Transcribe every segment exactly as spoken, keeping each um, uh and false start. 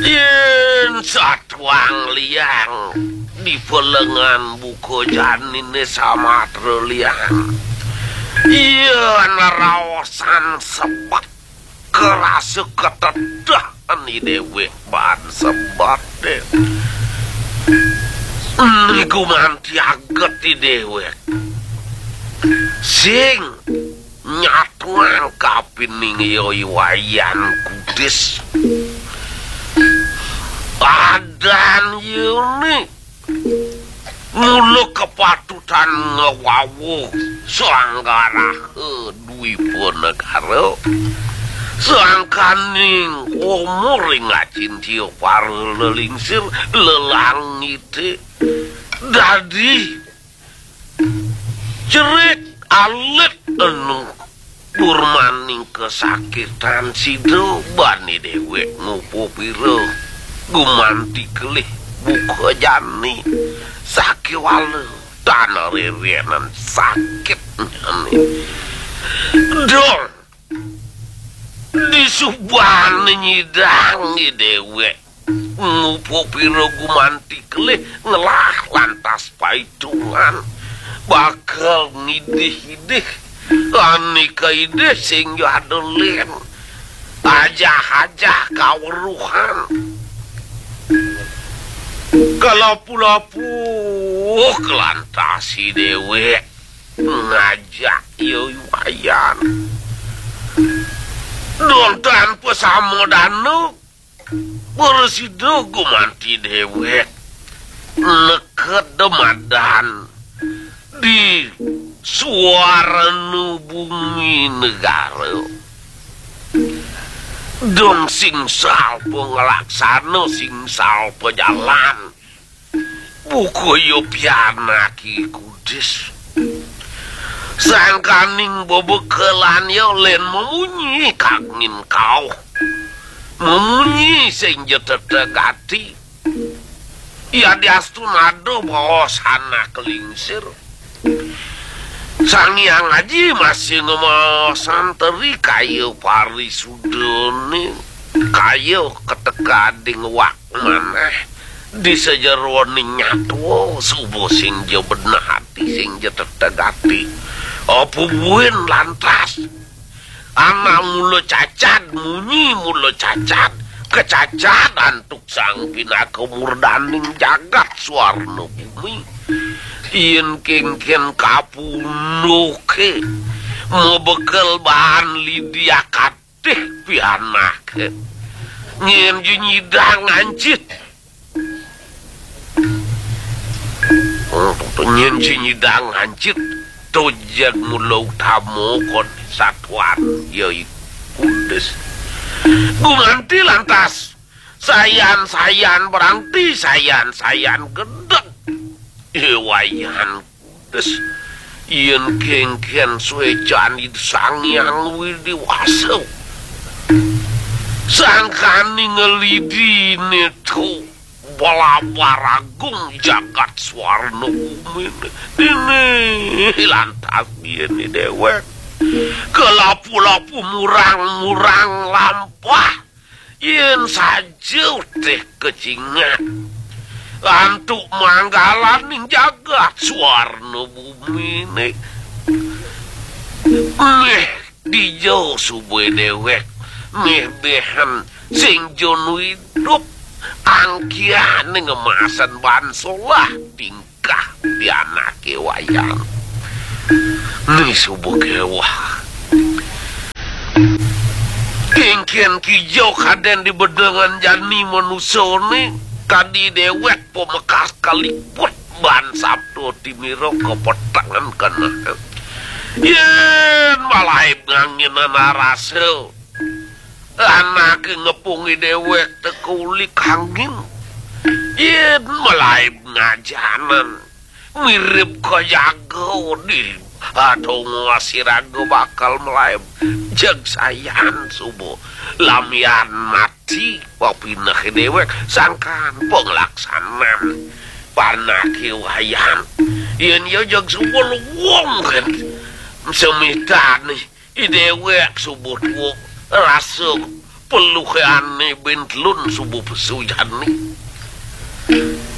Yén satuang liang di pelengan buka janiné samatra liang. Yén raosan sebet kerasa ketedah ni déwék baan sebet dé. Ni gumanti aget ni déwék. Sing nyatuang kapining ya I Wayan Kudis. Adan yeuné mula kepatutan ngawawa sanggaraha Dwipa Negara. Sangkaning umur ring acintia para lelingsir lelangité dadi cerik alit enu durmaning kasakitan sida bani déwék ngupapira gumanti kelih buka jani sakéwala tan rérénan sakitnyané. Dong, disubané nyidang i déwék ngupapira gumanti kelih ngelah lantas paitungan bakal ngidih-idih. Ané kaidih sing ja ada lén. Ajah-ajah kaweruhan. Kalapu-lapu kelantas i déwék ngajak ya I Wayan. Don tanpa sama dana, prasida gumanti déwék neked madan di Suwarna Bumi Negara. Dong singsal panglaksana, singsal pajalan. Buka ya pianak I Kudis. Sangkaning bebekelan ya lén mamunyi kangin kauh. Mamunyi sing ja tetegati. Yadiastun ada baos anak lingsir. Sang Hyang Aji masih ngemaosan teri kaya parisudané, kaya ketekading wak manah di sajeroning nyatwa suba sing ja beneh ati, sing ja tetegati. Apa buin lantas anak mula cacad, munyi mula cacad, kacacad antuk sang pinaka murdaning jagat Suwarna Bumi. Yén kénkén kapunduké mabekel baan lidi akatih pianaké. Nyén ja nyidang ancit. Nyén ja nyidang ancit, to jeg mula utama kon satuan ya I Kudis. Gumanti lantas sayan-sayan berangti, sayan-sayan gedeg. I Wayan Kudis, yén kénkén suécan Ida Sang Hyang Widi Wasa. Sangkaning ngelidini to balabar agung jagat Suwarna Bumi. Dini lantas yén i déwék kalapu-lapu murang-murang lampah. Yén saja teh kacingat antuk manggalaning jagat Suwarna Buminé. Méh dija suba déwék méh-méhan sing ja nu idup angkihané ngemasan baan solah tingkah pianaké Wayan. Né suba kéweh. Kénkén kija kadén di bedengan jani manusané, kadi déwék pamekas kaliput baan sabda timira kapetengan keneh. Yén malaib nganginan arasa, anaké ngepung i déwék teka uli kangin. Yén malaib ngajanan, mirib kajaga di adonga siraga bakal malaib. Jeg sayan suba lamian mati papineh i déwék sangkan panglaksanan panaké Wayan. Yén ya jeg suba luung kén semitané i déwék suba tua rasa Peluhane bentlun subuh pesu jani.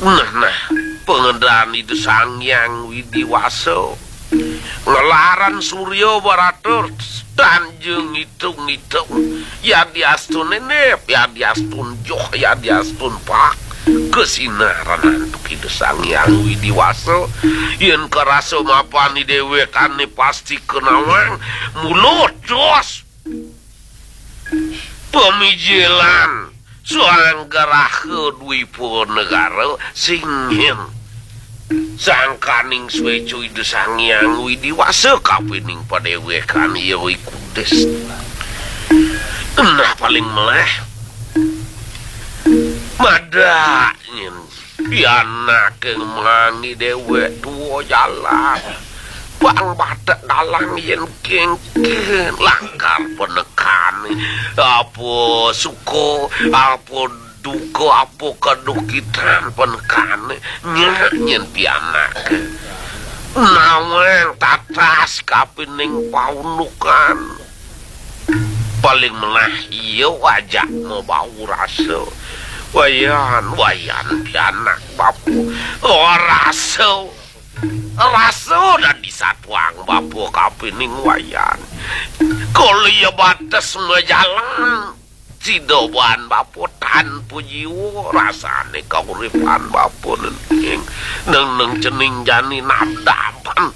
Nah, nah, pengendan Ida Sang Hyang Widi Wasa. Ngelaran surya baratur, tanjung ngitung-ngitung. Yadiastun enep, yadiastun joh, yadiastun pak. Kesinaran antuk Ida Sang Hyang Widi Wasa. Yen karasa mapan dewekane pasti kenawang, mulut terus. Pamijilan Swanggraha Dwipa Negara singhin. Sangkaning sweca Ida Sang Hyang Widi Wasa kapining padewekan iya iku des. Nah, paling meleh madak nyen pianake mangi dewek tua jalan. Bang batek dalang yen kengken langkar penekane. Apa suka, apa duka, apa kedukitan penekane. Nyak nyen pianake. Nawang tatas kapining paundukan. Paling melah iya ajak mabau rasa. Wayan, wayan pianak bapa. Oh, rasa. Rasa dadi satuang bapa kapining wayan. Kala iya bates majalan, sida baan bapa tanpa jiwa, rasane kauripan bapa nenting. Neng-neng cening jani nabdaban.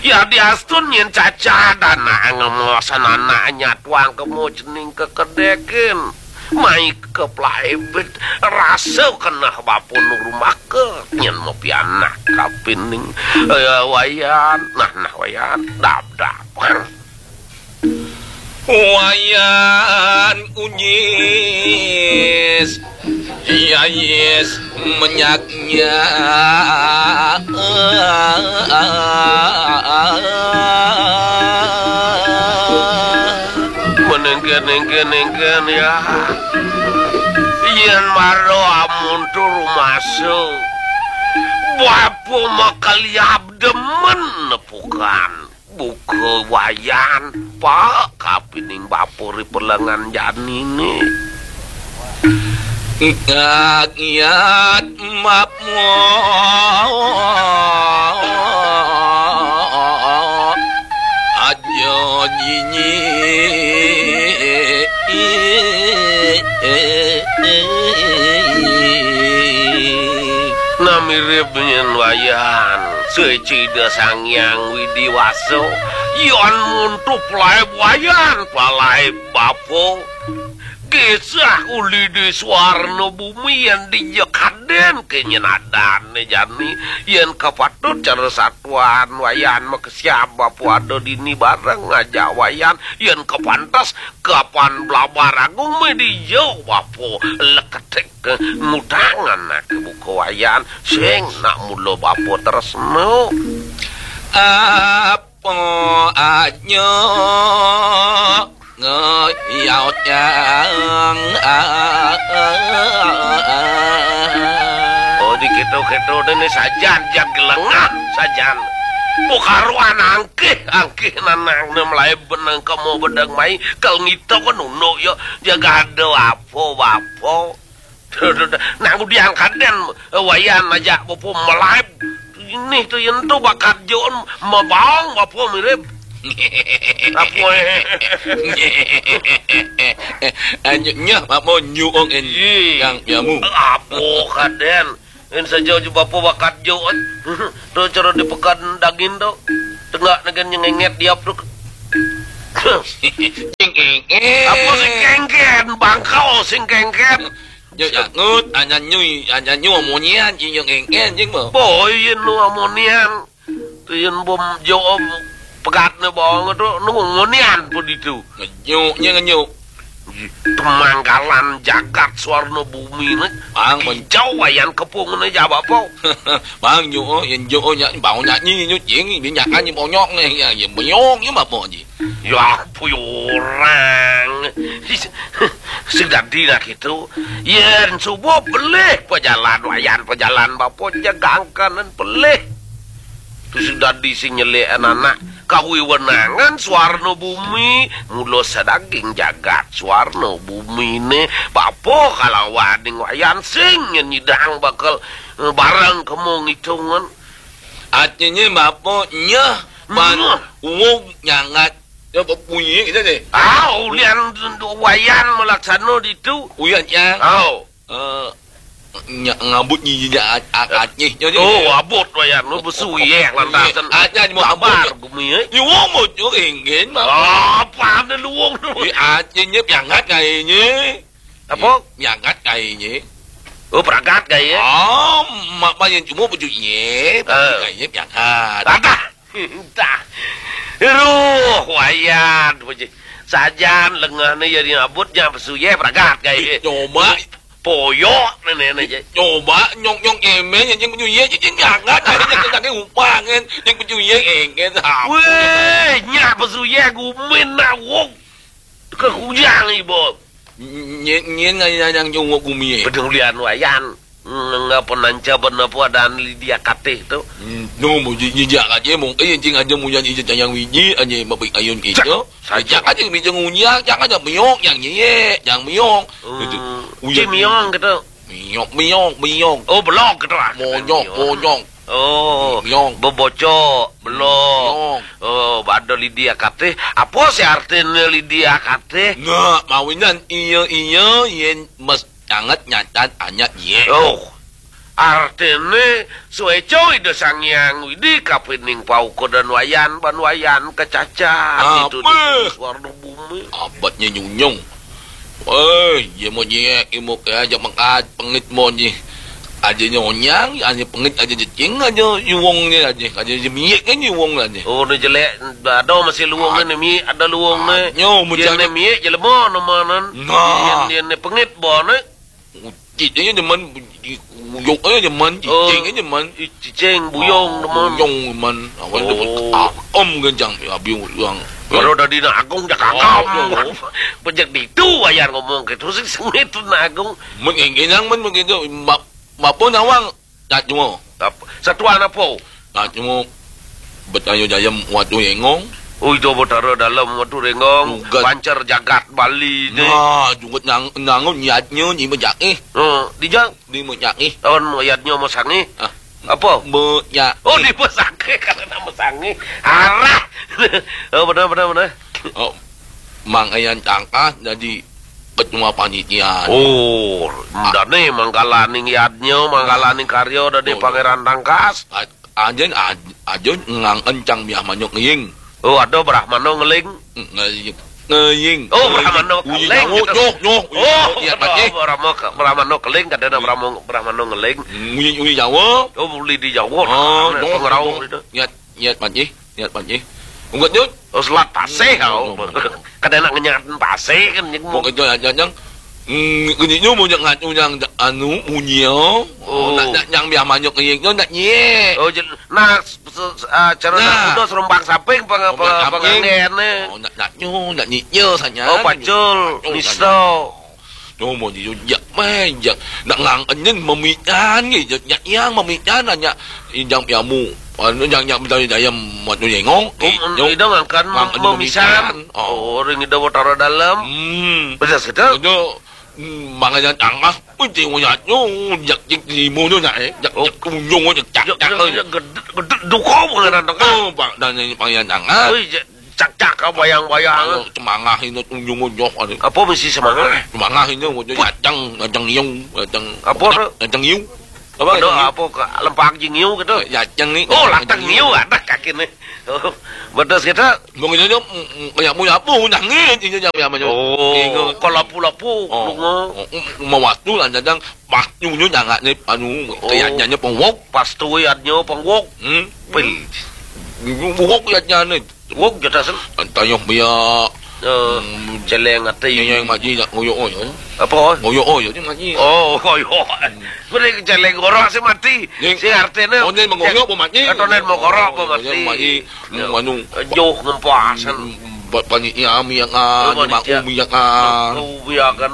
Yadiastun yen cacad anak ngemasan anak nyatuang kemo cening kekedekin. Mai keplaibet rasa keneh bapa nurumaka nyen mapianak kapining, eh, wayan. Nah, nah, wayan. Dab, dab. Wayan unyis, yais menyaknya. Menengken-nengken-nengken ya. Yen mara amun tur rumasa, bapa makaliab demen nepukan. Buka wayan, Pak, kapining bapa ri pelengan janine. Ngak-ngak mapmo aja nyinyi. Nah, mirib nyen wayan. Suci Ida Sang Hyang Widi Wasa, yan muntup laib wayan, palaib bapa. Kisah uli di suarna bumi yan dija kaden kenyen adane jani, yan kapatut cara satuan wayan makesiab bapa ada dini bareng ngajak wayan, yan kapantes kapan blabar agung me dija bapa leketik. Ngutangan nak buka wayan, sing nak mula bapa tresna. Apa aja ngeyau yang. Oh, di keto-keto dene sajan, jag lengah sajan. Bukaruan angkih, angkih nanang ne melai benang kamu bedang mai, kal ngito kan uno yo, jaga ada apa, apa. Nang udian kaden, eh, wayan aja bapa melaib. Ini tu yen tu bakat jon mabawang bapa mirip. Apa, eh? Anjuknya bapa nyuong en. Ih. Yang nyamu. Apa kaden? En saja ju bapa bakat jon. Tu cara di pekan daging tu. Tengah negen nyengenget diap tu. Sing kengken. Apa sing kengken? Bangkau sing kengken. Yo, ya, ngut, anyan nyui, anyan nyu, amunian, jing yo kengken, jing bo. Boy, yen nu amunian. Tu yen bom jo pegat ne bawang tu, nu amunian pun itu. Ngenyuk, nye ngenyuk. Temanggalan jagat suarna bumi ne. Bang, ben- Kijau wayan kepung ne jaba po. Bang, nyu, oh, yen jo, oh, nyak, bau nyak nyi, nyu, jing, bin nyak anyi bonyok ne, ya, ya, bonyok, ya, bapa ji. Ya, apa orang. Sing dadi nak itu. Yen subuh belih pejalan wayan pejalan bapa jegangkanen belih. Tu sing dadi sing nyelek anak. Kawiwenangan suarna bumi, mula sadaging jagat suarna bumine, bapa kalawaning Wayan sing nyidang bakal, eh, bareng kemu ngitungan. Artinye bapa nyeh, pan Nyeh. Uwung nyangat. Ya, bunyi gitu deh. Ah, ulian Wayan malaksana ditu. Uyan, ya. Oh. Eh, nya-, ngabut nyi-, nyi-, a-, a-, Aceh, nyo, nyo, Oh, nyo. Abut Wayan, lu besu yeh lantasan. Aceh, nyi, mau Sabar, abut. Gumi, eh. Nyi, wong mau tu, enggen, Bang. Apa ada luwung tu? Di Aceh, nyi, piangat kayaknya. Apa? Piangat kayaknya. Oh, peragat kayaknya. Oh, mak, mak yang cuma baju, nyi, Eh. Kayaknya piangat. Ada. Entah. Ruh, Wayan, puji. Sajan lengahne ya diabut, nya pesu ye peragat, kai. Coba. Poyok, nene, nene, je. Coba, nyong, nyong, emen, yang pesu ye, yang jangan, yang jangan, upah, kan. Yang pesu ye, engen, apa? Weh, nya pesu ye, gumin, nak, wong. Ke kujang, ibu. Nyen, nyen, ngan, ngan, ngan, nyong, wong, gumi, eh. Pedulian, Wayan. Nge-, ngapenanca bena puadan Lydia Katih tu. Hmm, no, mu ji-, jijak aja, mungkin cing aja munyan ija cayang wiji aja mabik ayun Cak, kito. Saja. Jijak aja mija ngunyang, jangan ada miok yang nyeyek, yang miok. Hmm, Gitu. Uyan cing miok gitu. Miok, miok, miok. Oh, belok gitu lah. Monyok, Miok. Monyok. Oh, Miok. Bebocok, belok. Miok. Oh, bada Lydia Katih. Apa sih artinya Lydia Katih? Nah, mawinan iya, iya, yen mes Nyanget nyacan anyat ye. Oh, artine sueco Ida Sang Hyang Widi kapining paukudan Wayan, ban Wayan kacacat itu di suarna bumi. Abetnya nyunyung. Eh, ye mo nyek, imo ke aja mengkat, pengit mo nyi. Aja nyonyang, aja pengit, aja jecing, aja yuwong ni aja. Aja jemiek kan yuwong aja. Oh, ni jelek, ada masih luwong ni, miek, ada luwong ni. Nyo, dia ni miek jelema nama nan. Nah. Dia, dia ni pengit bo ni. Ucit aja demen, uyuk aja demen, cicing aja demen. Cicing, buyung demen. Buyung demen. Awak demen ketam genjang, ya, biung orang. Baru tadi nak agung jak agam. Pejak ditu ayah ngomong gitu sih sengit tu nak agung. Men genang men begitu, bapa nawang tak cuma. Satuan apa? Nah, cuma betayo jayem watu yengong. Oh, itu Betara Dalem watu rengong, pancar jagat Bali ni. Nah, jugut nang, nangun yadnya ni mejak eh. Ha, dijang. Ni mejak eh. Lawan yadnya masang eh. Ah. Apa? Mejak. Oh, di masang eh, kalau nak masang eh. Arah. Oh, benar, benar, benar. Oh, Mang Ayan Tangkas jadi ketua panitia. Oh, dane manggalaning yadnya, manggalaning karya dane Pangeran Tangkas. Ajen, aj-, ajun ngang encang biah manyuk ngeying. Oh, ada Brahmana ngeling. Ngeying. Ngeying. Oh, Brahmana keling. Nyoh, nyoh. Oh, Brahmana ke-, Brahmana keling, kadang Brahmana, Brahmana ngeling. Uyi, uyi Jawa. Oh, boleh di Jawa. Ah, pengerau nyoh. Niat, niat panci, niat panci. Unggut nyut. Oh, selat pasih, kau. Kadang nak ngenyat pasih kan, nyek. Mau kerja aja, jang. Hmm, kini nyu mau nyek ngatu yang anu, munyi, oh. Oh, nak, nak, yang biar manyuk ke nyek, nak nyek. Oh, jel-, nah, se-, se-, ah, cara nak muda serumpang samping peng-, serumpang peng-, samping. Pengangen, eh. Oh, nak, nak nyu, nak nyik nyu, sanya. Oh, pacul, pacul, nisto. Sanya. Cuma di jak main, jak. Nak ngang enyen memikan, jak, jak yang memikan, hanya injang piamu. Anu, yang, yang minta dayam, waktu nyengong. Oh, eh, nyu, ida ngangkan ngang enyen memisan. Memikan. Oh. Oh, ring ida watara dalam. Hmm. Betul, betul. Itu, hmm, makanya tangah. Wih, tengok nyak nyu, jak, jak limo nyu nyak, eh. Jak, oh. Jak kunjung, jak, jak, jak, jak, eh. Jak gedut, gedut duko pengenan tengah. Oh, Pak, dan ini pangian tangan. Wih, jak, cak, cak, kau bayang-bayang. Kalau semangah ini kunjung nyu, ada. Apa mesti semangah? Semangah ini, ada yacang, yacang iu, yacang. Apa tu? Yacang iu. Apa ada, apa ke lempak jing iu gitu? Yacang ni. Oh, latang iu, ada kaki ni. Oh, betul kita. Mungkin dia, mm, mm, kayak mu apa, mu nangis, ini dia apa, apa, oh, ingat. Kalau lapu-lapu, oh, lunga. Oh, mm, mau waktu lah, kadang pas nyu, nyu, jangan ni, anu, oh, kayaknya, nya, pengwok. Pas tu, ya, nya, pengwok. Hmm? Pil. Wok, ya, nya, ni. Wok, ya, tak sen. Tayuh biar. Eh, hmm, celeng ati. Yang, yang maji nak ngoyok, oh, ya. Apa? Ngoyok, oh, ya, ni maji. Oh, ngoyok. Hmm. Boleh ke celeng orang si mati. Ni, si artinya. Oh, ni mengoyok, apa mati? Atau ni mengorok, apa mati? Mati. Ya. Manu. Joh ngempas, kan. Hmm, buat panitia, minyak, ah, oh, ni panitia. Mak, minyak, ah. Oh, iya, kan.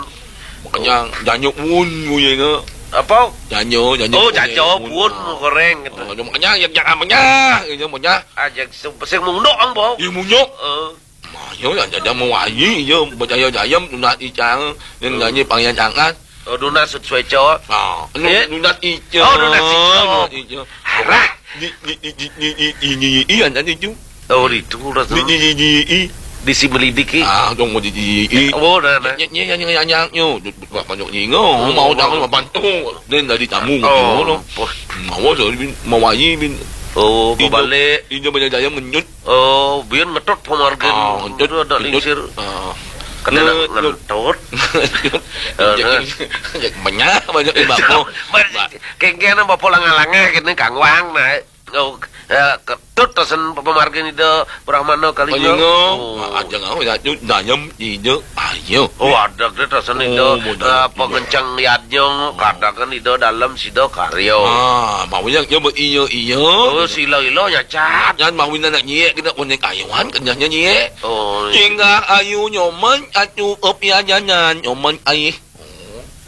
Makanya, janyuk pun, bunyi ke. Apa? Janjo, janjo. Oh, janjo pun goreng gitu. Oh, makanya yang jangan manyah, yang manyah. Ah, yang se-, sing munduk ang bau. Yang munduk. Heeh. Mayo ya, janjo mawayi, iya, percaya jayem, nunas icang, yang nyanyi pangian tangan. Oh, nunas sut sueco. Ah, nu-, nunas icang. Oh, nunas icang. Nunas icang. Arah. Di, di, di, di, di, di, di, di, iya, tadi tu. Oh, di tu rasanya. Di, di, di, di, i. Di si melidiki. Ah, dong mau di, di, i. Oh, dah, dah. Nye, nye, nye, nye, nye, nye. Buat banyak nyingo. Oh, mau dah, mau bantu. Dan dari tamu, oh, gitu, no. Poh. Mau dah, bin, mau wayi, bin. Oh, mau balik. Injo banyak jaya ngenyut. Oh, biar ngetut pemargin. Ah, ngetut, ada ngetut. Lingsir. Ah. Kena ngetut. Ngetut. Ngetut. Eh, banyak, banyak, banyak, banyak. Kengkena bapak langa-langa kene kangwang, nah. Oh, eh, ketut tasen pemargin Ida Brahmana Kalinga. Kalinga. Oh. Ajeng aku ya, Cuk, dayem, Ida, ayo. Oh, ada ke tasen Ida, oh, modal eh, pengencang yadnya, katakan Ida dalam sida karya. Ah, mau yang nyoba iya, iya. Oh, sila-ila nyacat. Kan mau nak nyiek kena konek ayuan, kenyahnya nyiek. Oh, iya. Tinggal ayu nyoman, atu kepiajanan, nyoman aih.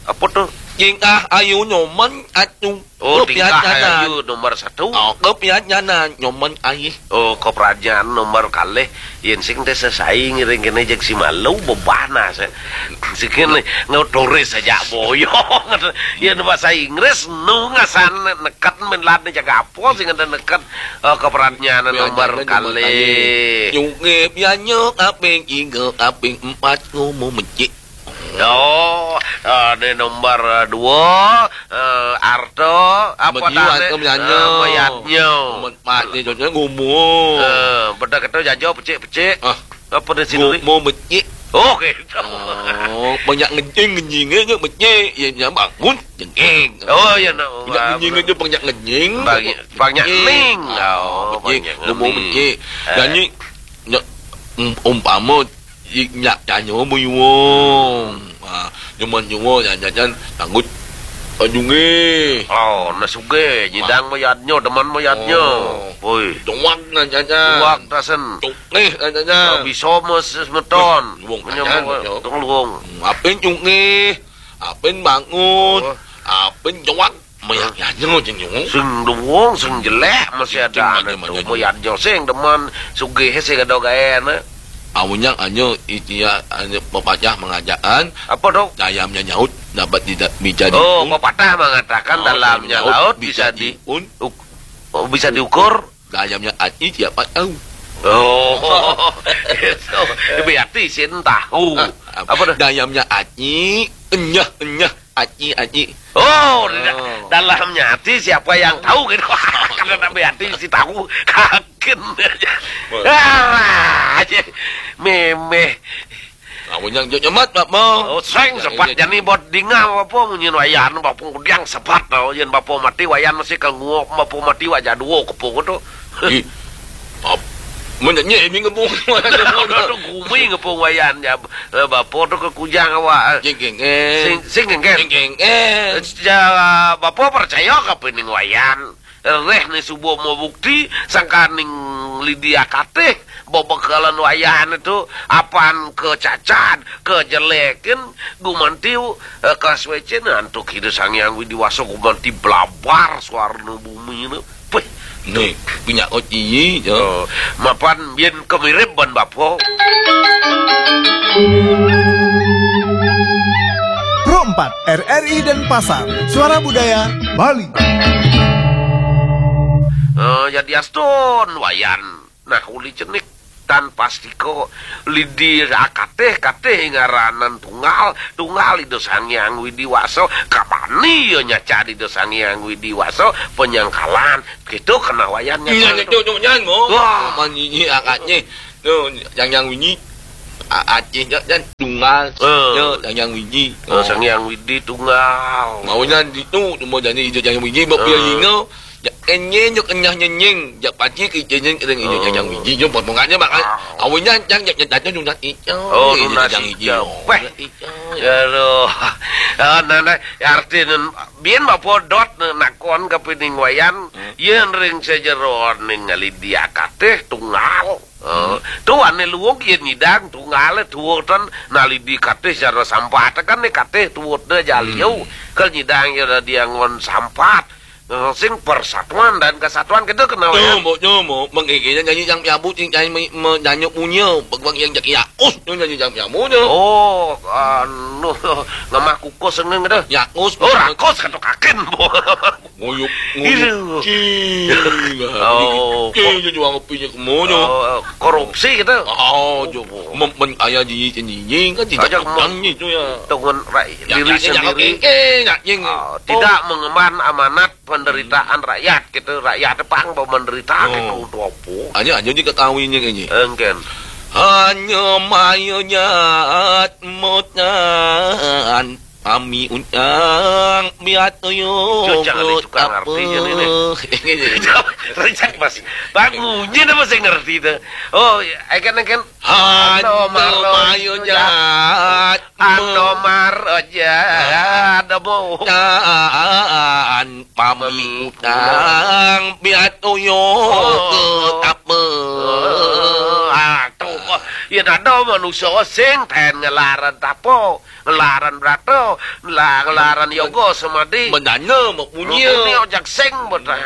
Apa tu? Tingkah ayu nyoman atu. Oh, tingkah ayu nomor satu. Oh, kepiajanan nyoman aih. Oh, keprajaan nomor kalih. Yen sing teh sesai ngiring kene jek si malu bebana se. Sikin ngau turis saja boyong. Yen bahasa Inggris nu ngasan neket men lade jaga apa sing ada neket, eh, keprajaan nomor kalih. Nyunge pianyok aping iga aping empat ngomong mecik. Oh, eh, ini nomor, eh, dua, eh, Arto, apa nomor dua, tadi? Nomor dua. Eh, Mayatnyo. Nomor empat ni, contohnya ngomong. Eh, benda kata jajo pecik-pecik. Ah. Apa dia sini? Ngomong pecik. Oh, gitu. Oh, banyak ngencing, ngencingnya je pecik. Ya, ya, bangun, jengking. Oh, ya, nak. Banyak ngencing itu banyak ngencing. Banyak, banyak ning. Oh, pecik. Banyak ngomong pecik. Eh. Dan ni, nyak, um, umpama, nyak tanyo buyuong. Ha, nyoman nyowo, jangan-jangan tanggut. Ajunge. Oh, na suge, nyidang mayatnyo, deman mayatnyo. Oh. Woi. Tuak na jangan. Tuak tasen. Tuak neh na jangan. Bisa mes semeton. Luwung. Menyambung jangan, luwung. Hmm, apin cunge. Apin bangun. Oh. Apin tuak. Mayat nyanyo jeung nyungu. Sing luwung, sing jelek masih ada. Sing demen, mayat nyo sing demen, sugih sing ada gaena. Awinnya anyo itia anyo pepatah mengatakan. Apa tu? Dayamnya nyaut dapat tidak bisa diun. Oh, pepatah mengatakan dalamnya laut bisa diun. Oh, bisa diukur. Dayamnya ati siapa tahu. Oh. Berarti sin tahu. Ah, apa tu? Dayamnya ati, enyah, enyah. Aci, aci. Oh, dalamnya hati siapa yang tahu gitu. Karena tapi hati si tahu kakin. Ah, aja. Memeh. Kamu yang jok nyemat, Pak Mo. Oh, seng sepat jani buat dingah apa munyin wayan, bapak kudiang sepat tau. Yen bapak mati wayan masih ke nguok, bapak mati wajah dua kepung tu. Ih. Ap-, mun nyanyi ini ngepung. Gumi ngepung wayan ya. Eh, bapo tu ke kujang awak. Jing kengken. Sing, sing kengken. Jing kengken. Ja, bapo percaya ka pening wayan. Reh ni subuh mau bukti, sangka ning Lydia Katih, bebekalan wayan tu, apan kecacat, kejelekin, gumantiu, eh, kaswecen, antuk Ida Sang Hyang Widi Wasa gumanti blabar suarna bumi tu. Peh. Ni, minyak koci, jo. Oh, mapan yen kemirip ban bapo. Pro empat, R R I Denpasar, Suara Budaya, Bali. Eh, jadi astun, wayan. Nah, uli cenik. Tan pastika Lydia Katih, Katih ngaranan tunggal, tunggal Ida Sang Hyang Widi Wasa, kabani ya nyacat Ida Sang Hyang Widi Wasa, penyangkalan, gitu kena wayan nyacat. Iya, nyacat, nyacat, mo. Wah. Manyi akatnya. Tu, Sang Hyang Widi, a-, Aceh, nyacat, tunggal. Eh. Ya, Sang Hyang Widi. Oh, Sang Hyang Widi tunggal. Maunya di tu, cuma jadi Ida Sang Hyang Widi, bak eh. Pialinga, Jak kenying, jak kenyah nyenying, jak pagi ke nyenying, kering inyo jajang biji, nyo potong aja makan. Awalnya jang, jak nyetat nyo nunas ijo. Oh, nunas ijo. Weh. Nunas ijo. Ya lo. Ah, nah, nah, arti nun, bien bapo dot, nah, nakon ke pining wayan, hmm. Yen ring sejero ning Lydia Katih tunggal. Oh, hmm. Tu ane luwung yen nyidang tunggal tuwutan nalidi Katih cara sampah tekan ne Katih tuwutne jaliu. Hmm. Kal nyidang ya dia ngon sampat. Eh, sing persatuan dan kesatuan kita kenal ya. Nyomo, nyomo, mengigenya nyanyi yang piabu, sing nyanyi me-, me-, nyanyi punya, bang yang jadi yakus, nyo nyanyi yang piabu nyo. Oh, anu, ngamah kukus sengeng dah. Yakus. Oh, rakus kata kaken, bo. Nguyuk, nguyuk. Iya. Cing. Oh, cing, kok- juang kopinya kemono. Oh, korupsi gitu. Oh, jo. Mem-, men-, ayah di, di, di, kan tidak Aja mau- nyanyi tu ya. Dengan rakyat Ya, diri ya, ya, sendiri. Oke, ya, nying. Ah, tidak mengemban amanat penderitaan rakyat gitu. Rakyat pang bawa menderita Oh. gitu untuk apa? Aja, aja diketahuinya kayaknya. Engken. Hanya mayanya mutan kami undang biat tuyul. Itu jangan ditukar artinya ini. Rencak, Mas. Bang, munyi apa sih ngerti itu? Oh, ya, engken, engken. Hanya Ando maro mayanya jahat. Ando maro jahat, amo. Dan pami utang biat tuyul Oh. ke apa? Oh, ah, tuh. Ya, ada manusia sing ten ngelaran tapo, ngelaran brato, ngela-, ngelaran yoga semadi. Mendana, mak munyi. Ini ojak sing, bodan.